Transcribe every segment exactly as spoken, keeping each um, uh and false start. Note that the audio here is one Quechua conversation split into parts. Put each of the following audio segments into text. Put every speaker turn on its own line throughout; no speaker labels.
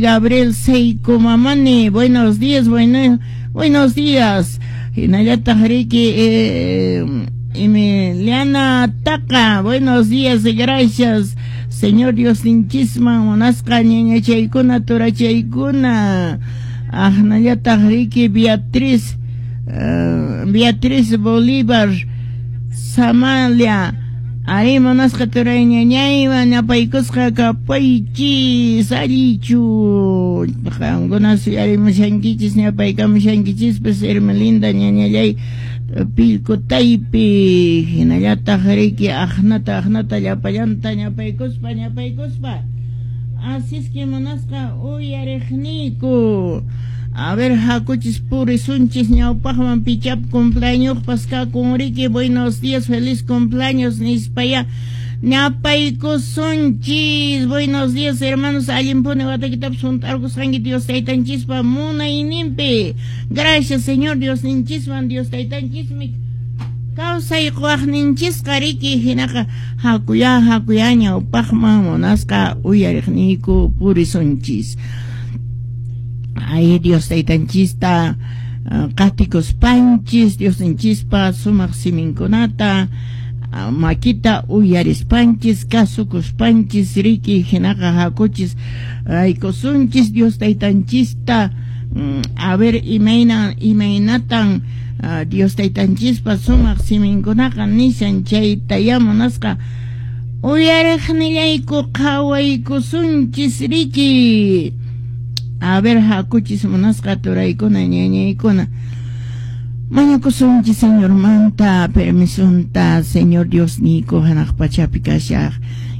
Gabriel Seiko Mamani, buenos días, bueno, buenos días. Hinallataq riki eh, Emiliana Taqa, buenos días, gracias. Señor Dios ninchisman munasqa ñañachaykuna turachaykuna. Ahnallataq riki Beatriz uh, Beatriz Bolívar Samalia. Ari munasqa turay ñañaywan ñapaykusqa kapaychis allichu qamkuna suyarimushankichis ñapaykamushankichispas Hermelinda ñañallay Pilcotaypi hinallataq riki aqnata aqnata llapallanta ñapaykuspa ñapaykuspa así es que munasqa uyariqniyku. A ver, hakuchis purisunchis ñawpaqman pichap cumpleañospas kakun riki, buenos días, feliz cumpleaños nispaya ñapaykusunchis. Buenos días, hermanos, allinpuni watakitapas hunt'arqusqanki Dios taytanchispa munayninpi. Gracias, Señor Dios ninchisman, Dios taytanchismi kawsay quwaqninchisqa riki, hinaqa hakuya hakuya ñawpaqman munasqa uyariqniyku purisunchis. Ay, Dios taytanchista uh, qatikuspanchis, Dios ninchispa sumaq siminkunata uh, makita uyarispanchis, kasukuspanchis riki, hinaqa hakuchis aykusunchis Dios taytanchista um, a ver imayna imaynatan uh, Dios taytanchispa sumaq siminkunaqa nishan chaytaya munasqa uyariqnillayku qhawaykusunchis riki. A ver, hakuchis munasqa turaykuna ñañaykuna. Mañakusunchis Señormanta, permisunta, Señor Dios niyku hanaq pachapi kashaq.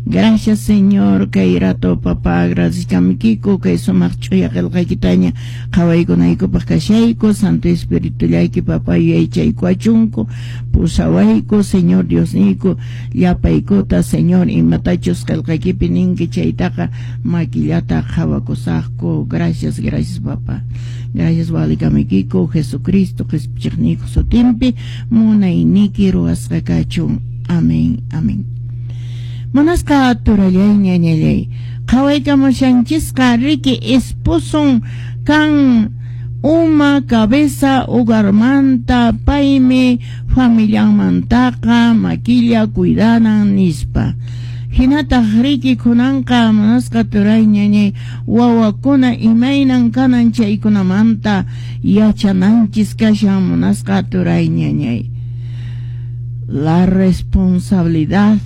Gracias, Señor, kay rato, papá, agradezcamikiku, kay sumaq ch'uya qillqaykitaña qhawaykunaykupaq kashayku, Santo Espíritu llayki, papá, yuyaychaykuachunku, pusawayku, Señor Dios niyku, llapaykuta, Señor, imatachus qillqaykipi ninki chaytaqa makillata qhawakusaqku. Gracias, gracias, papá. Gracias, walikamikiku, Jesucristo, qhispichiqniyku sutinpi, munayniki ruwasqa kachun. Amén, amén. Munasqa turallay ñañallay qhawaykamushanchisqa riki esposon kan uma cabeza hogarmanta paymi familianmantaqa makilla cuidanan nispa. Hinataq riki kunanqa munasqa turay ñañay wawakuna imaynan kanan chaykunamanta yachananchis kashan munasqa turay ñañay. La responsabilidad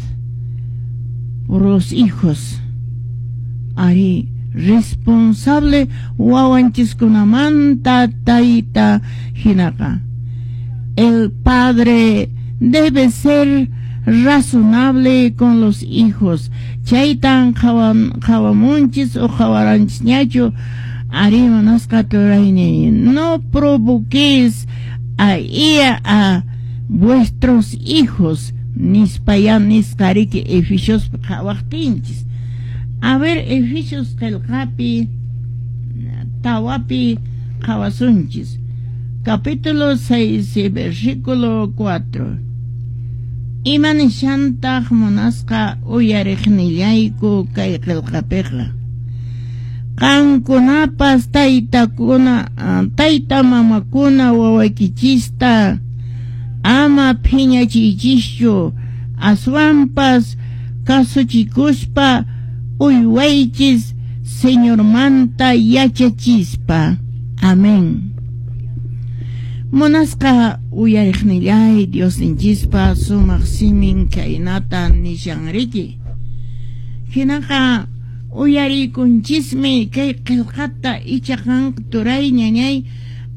por los hijos. Ari responsable wawanchiskunamanta tayta hinaqa. El padre debe ser razonable con los hijos. Chaytan qhawamunchis o qhawaranchisñachu ari munasqa turayni. No provoquéis a ira a vuestros hijos. Nispaya nisqa riki Efesios qhawaqtinchis. A ver, Efesios qillqapi tawapi qhawasunchis. Capítulo seis, versículo cuatro. Ima nishantaq munasqa uyariqnillayku kay qillqapiqa. Qankunapas taytakuna, tayta mamakuna wawaykichista ama phiñachiychischu, aswanpas kasuchikuspa uywaychis Señormanta yachachispa. Amén. Munasqa uyariqnillay Dios ninchispa sumaq simin kaynata nishan riki. Hinaqa uyarikunchismi kay qillqata icha qan turay ñañay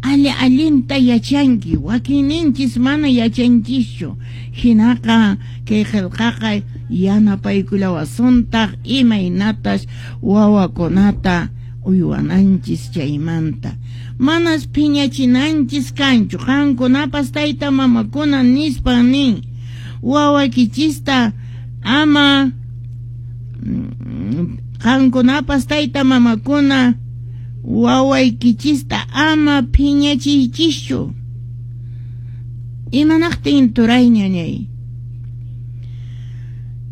alli allinta yachanki, wakinninchis mana yachanchischu. Hinaqa kay qillqaqa yanapaykullawasuntaq imaynatas wawakunata uywananchis chaymanta. Manas phiñachinanchis kanchu, qankunapas tayta mamakuna nispa nin wawakichista ama qankunapas tayta mamakuna wawaykichista ama phiñachiychischu. Imanaqtin turay ñañay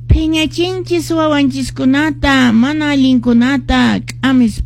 phiñachinchis wawanchiskunata mana allinkunata k'amispa.